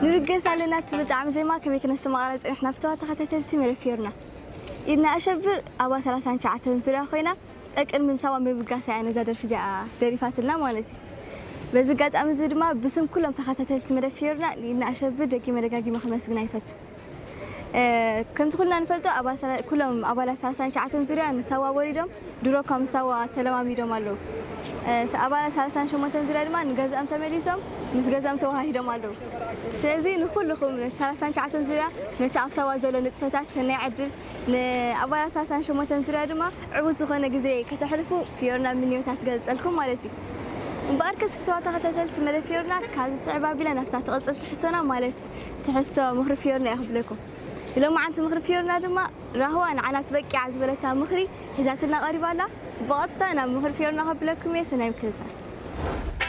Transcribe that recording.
ንብገስ ኣለና እትብል ጣዕሚ ዜማ ከመይ ክነስተማቕራ ጸኒሕና ፍተዋ ተኸታተልቲ መደብ ፊዮርና። ኢድና ኣሸብር ኣብ ሰላሳን ትሽዓተን ዙርያ ኮይና ቀቅድሚ ንሳዋ ምብጋሳ እያ ነዛ ደርፊ እዚኣ ደሪፋትልና ማለት እዩ። በዚ ኣጋጣሚ እዚ ድማ ብስም ኩሎም ተኸታተልቲ መደብ ፊዮርና ንኢድና ኣሸብር ደጊመ ደጋጊመ ክመስግና ይፈቱ። ከምቲ ኩልና ንፈልጦ ኩሎም ኣባላት ሰላሳን ትሽዓተን ዙርያ ንሳዋ ወሪዶም ድሮ ካብ ሳዋ ተለማሚዶም ኣለዉ። ኣባላት ሰላሳን ሸሞንተን ዙርያ ድማ ንገዛኦም ተመሊሶም ምስ ገዛኦም ተዋሃሂዶም ኣለዉ። ስለዚ ንኩልኹም ሰላሳን ትሽዓተን ዙርያ ነቲ ኣብ ሳዋ ዘሎ ንጥፈታት ሰናይ ዕድል፣ ንኣባላት ሰላሳን ሸሞንተን ዙርያ ድማ ዕዉት ዝኾነ ግዜ ከተሕልፉ ፊዮርና ምንዮታ ትገልጸልኩም ማለት እዩ። እምበኣር ከስፍተዋ ተኸታተልቲ መደብ ፊዮርና ካብዚ ስዕብ ኣቢላ ናብታ ትቕጽል ትሕዝቶና ማለት ትሕዝቶ ምኽሪ ፊዮርና እየ ክብለኩም። ሎማዓንቲ ምኽሪ ፊዮርና ድማ ራህዋ ንዓና ትበቂዓ ዝበለታ ምኽሪ ሒዛትና ቀሪባ ኣላ። ብቐጥታ ናብ ምኽሪ ፊዮርና ከብለኩም እየ። ሰናይ ምክትታል።